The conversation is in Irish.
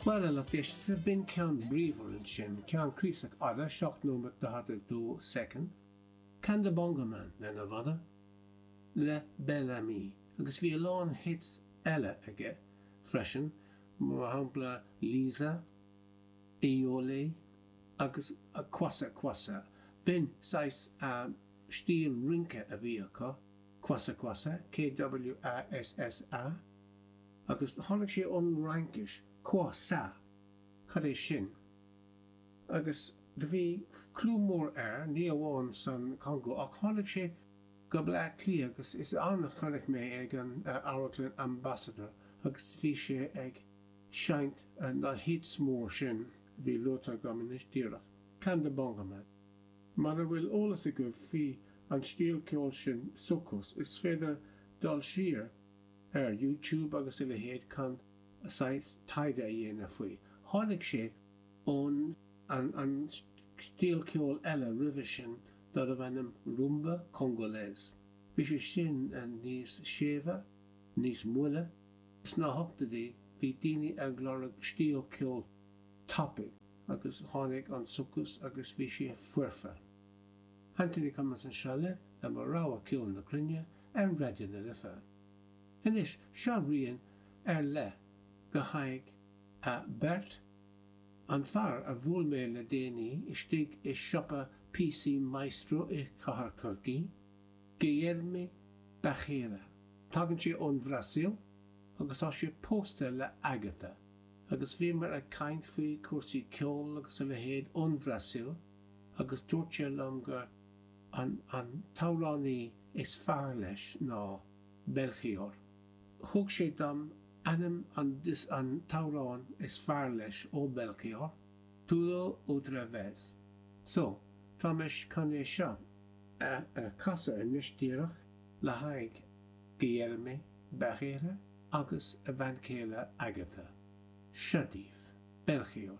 Bhuel, a lucht éisteachta, b'in ceann bríomhar ansin, ceann craosach fhada, 7 nóiméad 42 soicind, Kanda Bongo Man lena bhanna, le Bel Ami, agus bhí a lán hits eile aige freisin, mar shampla Liza, Eyole agus Kwassa Kwassa. B'in saghas stíl rince a bhí acu, Kwassa Kwassa, K-W-A-S-S-A. Agus tháinig sé ón bhFraincis, quoi ça? Cad é sin? Agus do bhí clú mór air, ní amháin san Congo, ach tháinig sé go Bleá Cliath agus is ann a chonaic mé ag an Amharclann Ambassador agus bhí sé ag seinnt na hits mór sin a bhí luaite agam anois díreach. Kanda Bongo Man. Mura bhfuil eolas agaibh faoi an stíl ceoil sin, soukous, is féidir dul siar ar YouTube agus a leithéid chun saghas taighde a dhéanamh faoi. Tháinig sé ón an stíl ceoil eile roimhe sin darbh ainm Rumba Congolaise. Bhí sé sin níos séimhe, níos moille. Sna hochtóidí bhí daoine ag lorg stíl ceoil tapaidh agus tháinig an soukous agus bhí sé foirfe. Anthony Cummins anseo libh le mo rogha ceol na cruinne ar Raidió na Life. Anois, seo rian ar leith go haghaidh beirt, an fear a bhuail mé le déanaí istigh i siopa píosaí Maestro i Chathair Chorcaí, Guilherme Barreira. Tagann sé ón Bhrasaíl agus tá sé pósta le Agatha agus bhíomar ag caint faoi chúrsaí ceoil agus a leithéid ón Bhrasaíl agus dúirt sé liom gur an an t-amhránaí is fearr leis ná Belchior. Thug sé dom ainm an an t-amhrán is fearr leis ó Belchior, Tudo Outra Vez. So, tá mé chun é seo a chasadh anois díreach le haghaidh Guilherme Barreira agus a bhean chéile Agatha. Seo daoibh, Belchior.